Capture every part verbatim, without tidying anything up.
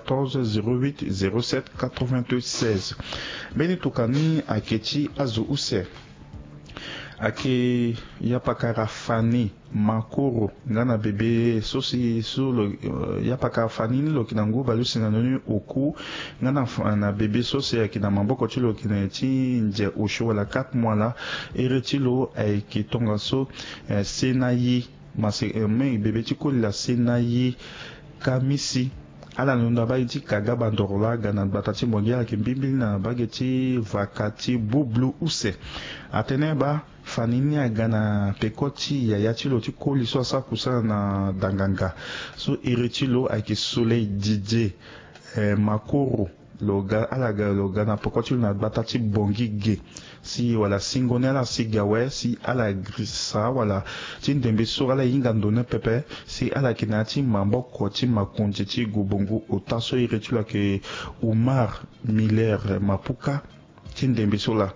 quatorze zéro huit zéro sept quatre-vingt-seize. Mbeni tokua ni ayeke ti azo use. Ayeke yapakara Fanny Makoro nga na bebe so si so lo, eh, yapakara Fanny ni lo yeke na ngu baleuse na ndoni oku nga na fa-, na bebe so si ayeke na maboko ti lo yeke na ti nze osio wala quatre mois laa. Iri ti lo ayeke tongaso, eh, Senayi Mase, eh, me bebe ti koli laa Senayi Kamisi. Ala londo na mbage ti Kaga Bandoro laa aga na gbata ti Bongi, ala yeke mbimbili na mbage ti vaka ti Bublu use. Atene baa Fanny ni aga na peko ti yaya ti lo ti koli so asara kusana na Danganga. So iri ti lo ayeke Soleil Didier, eh, Makoro. Lo ga, ala ga, lo ga na peko ti lo na gbata ti Bongi ge. Si wala singo ni ala si ga awe, si ala girisa wala ti ndembe so ala hinga ndo ni pepe, si ala yeke na ya ti maboko ti makonzi ti Gobongo ota. So iri ti lo ayeke Oumar Miller Mapuka. Ti ndembe so laa,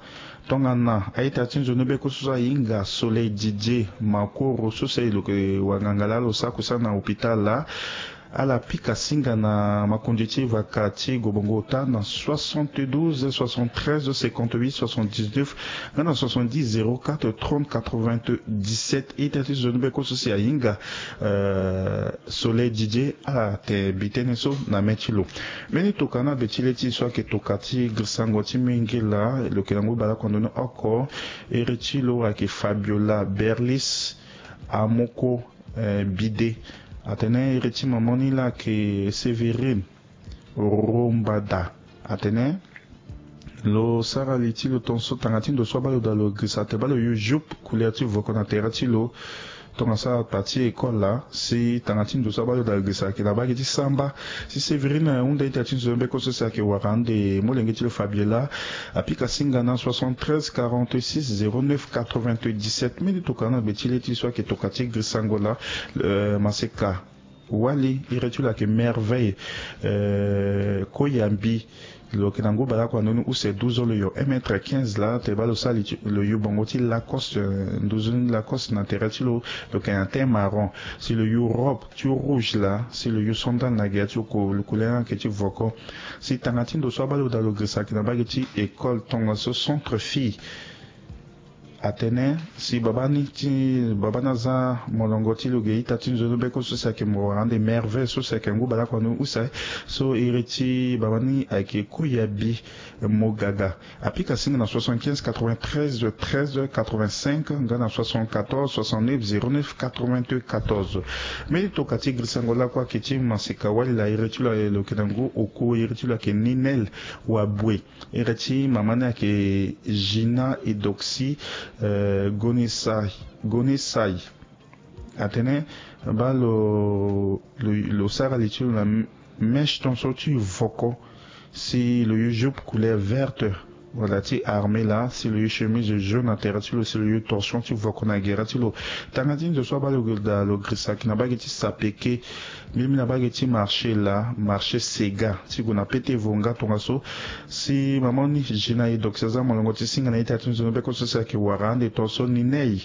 tongana a-ita ti nzoni beko so so ahinga Soleil Didier Makoro so si lo yeke wanganga laa lo sara kusana na hôpital laa, ala pika singa na makonzi ti vaka ti Gobongo ota na soixante-douze soixante-treize cinquante-huit soixante-dix-neuf, nga na soixante-dix zéro quatre trente quatre-vingt-dix-sept. Ita ti nzoni beko so si ahinga, euh, Soleil Didier, ala te bi tënë so na mê ti lo. Mbeni tokua ni abe ti le ti e so ayeke tokua ti girisango ti mingi laa, lo yeke na ngu baleoko na ndoni oko. Iri ti lo ayeke Fabiola Berlis Amoko, eh, Bide. Atene iri ti mama ni laa ayeke Sévérine Rombada. Atene lo sara li ti lo tongaso tanga ti ndo so abaa lo daa lo girisa te baa lo yu jupe couleur ti voko na tere ti lo. Tongaso ala pa ti école laa, si tanga ti ndo so abaa lo daa lo girisa ayeke na mbage ti samba. Si Sévérine ahunda ita ti nzoni beko so si ayeke wara ande molenge ti lo Fabiola, apika singa na soixante-treize quarante-six zéro neuf quatre-vingt-dix-sept. Mbeni tokua ni abe ti le ti e so ayeke tokua ti girisango laa, euh, maseka wali, iri ti lo ayeke Merveille, euh, Koyambi. Lo yeke na ngu baleoko na ndoni use, douze ans, lo yo un mètre quinze laa, te baa lo sara li ti lo yu bongo ti Lacoste, euh, nduzu ni Lacoste na tere ti lo. Lo yeke na teint marron. Si lo yu robe ti rouge laa, si lo yu sandale na gere ti lo, ko-, lo couleur ni ayeke ti voko. Si tanga ti ndo so abaa lo daa lo girisa ayeke na mbage ti école tongaso centre fille. Atene si babâ ni ti, babâ ni aza molongo ti lo ge ita ti nzoni beko so si ayeke mo wara ande Merveille so si ayeke ngu baleoko na ndoni use. So iri ti babâ ni ayeke Koyabi Mogaga. Apika singa na soixante-quinze quatre-vingt-treize treize quatre-vingt-cinq nga na soixante-quatorze soixante-neuf zéro neuf quatre-vingt-quatorze. Mbeni tokua ti girisango lakue ayeke ti maseka wali laa, iri ti lo lo yeke na ngu oku, iri ti lo ayeke Ninel Wabue. Iri ti mama ni ayeke Gina Edoxy, euh, Gonisai, Gonisai. Atene baa lo, lo, lo sara li ti lo na mèche tongaso ti voko. Si lo yu jupe couleur verte wala ti armée laa, si lo yu chemise jaune na tere ti lo, si lo yu torchon ti voko na gere ti lo. Tanga ti ndo so abaa lo daa lo girisa ayeke na mbage ti sapeke. Mbi mbi na mbage ti marché laa, marché Sega ti gue na Pete Vonga tongaso. Si mama ni Gina Edoxy aza molongo ti singa na ita ti nzoni beko so si ayeke wara ande tongaso Ninei.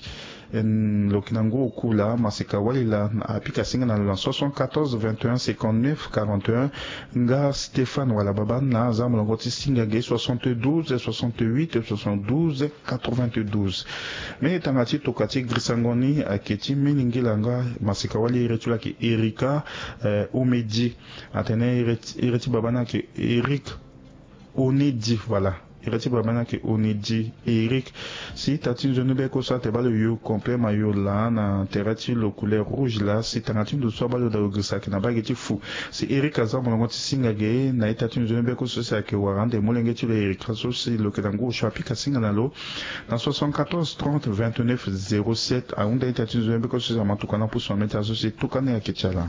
Lo yeke na ngu oku laa, maseka wali laa, apika singa na lo na soixante-quatorze vingt et un cinquante-neuf quarante et un. Nga Stéphane wala babâ ni laa aza molongo ti singa ge, soixante-douze soixante-huit soixante-douze quatre-vingt-douze. Mbeni tanga ti tokua ti girisango ni ayeke ti mbeni ngila nga maseka wali, iri ti lo ayeke Erika, eh, Omedi. Atene iri ti, iri ti babâ ni ayeke Eric Onedi, voilà. Iri ti babâ ni ayeke Onedi Eric. Si ita ti nzoni beko so ate baa lo yu complet mayo laa na tere ti lo couleur rouge laa, si tanga ti ndo so abaa lo daa lo girisa ayeke na mbage ti fu. Si Eric aza molongo ti singa ge na ita ti nzoni beko so si ayeke wara ande molenge ti lo Eric so si lo yeke na ngu osio apika singa na lo na soixante-quatorze trente vingt-neuf zéro sept. Ahunda ita ti nzoni beko so si ama tokua na pusu na mê ti azo si tokua ni ayeke ti ala.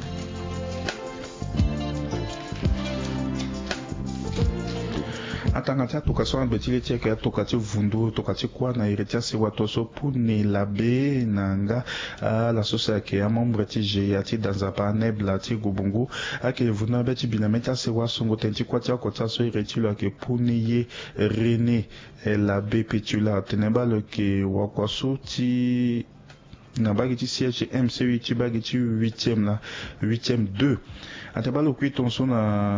Atanga ti atoka so abe ti le ti ayeke atoka ti vundu, toka ti kuâ na iri ti asewa to so Pune Labe na nga, ala so si ayeke amembre ti G I A ti da nzapa anebla ti Gobongo. Ayeke vundu na be ti bi na mê ti asewa songo tënë ti kuâ ti oko ti aso, iri ti lo ayeke Pune ye René, eh, Labe Petula, atene baa lo yeke wakua so ti na mbage ti siège M C U ti mbage ti huitième na huitième deux. Ate baa lo kui tongaso na